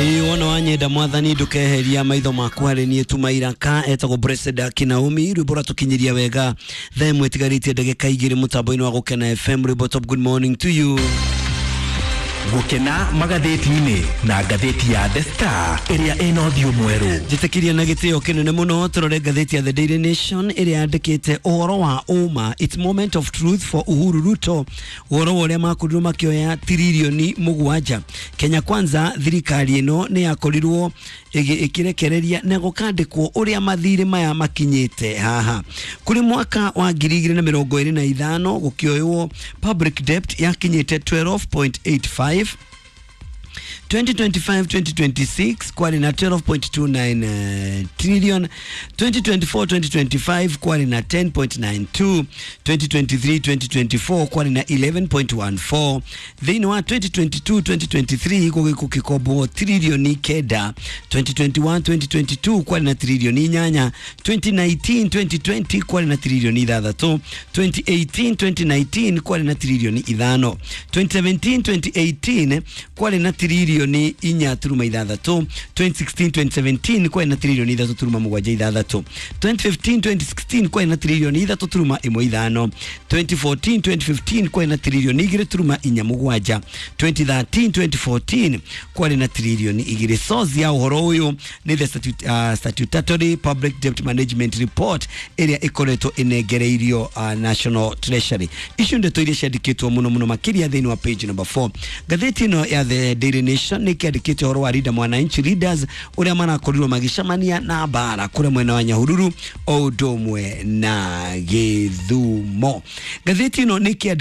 Ĩĩ, wona wanyenda Mwathani, ndũkeheria maitho maku harĩ niĩ. Tuma iraka etagwo Blessed Akinaomi, rwĩmbo rwatũkinyiria wega thaa 1 ĩtigarĩtie ndagĩka 2 mũtambo-inĩ wa Gũkena FM. Rwĩmbo top. Good morning to you. Gũkena magathĩti-inĩ na ngathĩti ya The Star ĩrĩa ĩna ũthiũ mwerũ. Njĩtĩkĩria na gĩtĩo kĩnene mũno tũrore ngathĩti ya The Daily Nation ĩrĩa yandĩkĩte ũhoro wa ũma, "It's moment of truth for Uhuru Ruto", ũhoro wa ũrĩa makorirwo makĩoya tiririoni 7. Kenya Kwanza, thirikari ĩno nĩ yakorirwo ĩkĩrekereria na gũkandĩkwo ũrĩa mathirĩ maya makinyĩte haha. Kũrĩ mwaka wa 2025 gũkĩoywo public debt yakinyĩte 12.85, 2025-2026 kwarĩ na 12.29 trillion, 2024-2025 kwarĩ na 10.92, 2023-2024 kwarĩ na 11.14. Thĩinĩ wa 2022-2023 gũgĩkombwo tiririoni 9, 2021-2022 kwarĩ na tiririoni 8, 2019-2020 kwarĩ na tiririoni 6, 2018-2019 kwarĩ na tiririoni 5, 2017-2018 kwarĩ na tiririoni 4.6, 2016-2017 kwarĩ na tiririoni 3.76, 2015-2016 kwarĩ na tiririoni 3.15, 2014-2015 kwarĩ na tiririoni 2.47, 2013-2014 kwarĩ na tiririoni 2. Source ya ũhoro ũyũ nĩ the Statutory Public Debt Management Report ĩrĩa ĩkoretwo ĩnengereirio National Treasury. Icio ndeto iria ciandĩkĩtwo mũno mũno makĩria thĩinĩ wa page number 4. Ngathĩti ĩno ya The Daily Nation nĩ ĩkĩandĩkĩte ũhoro wa Linda Mwananchi leaders ũrĩa marakorirwo magĩcemania na mbara kũrĩa mwena wa Nyahururu o ũndũ ũmwe na Gĩthumo. Ngathĩti ĩno nĩ ĩkĩandĩkĩte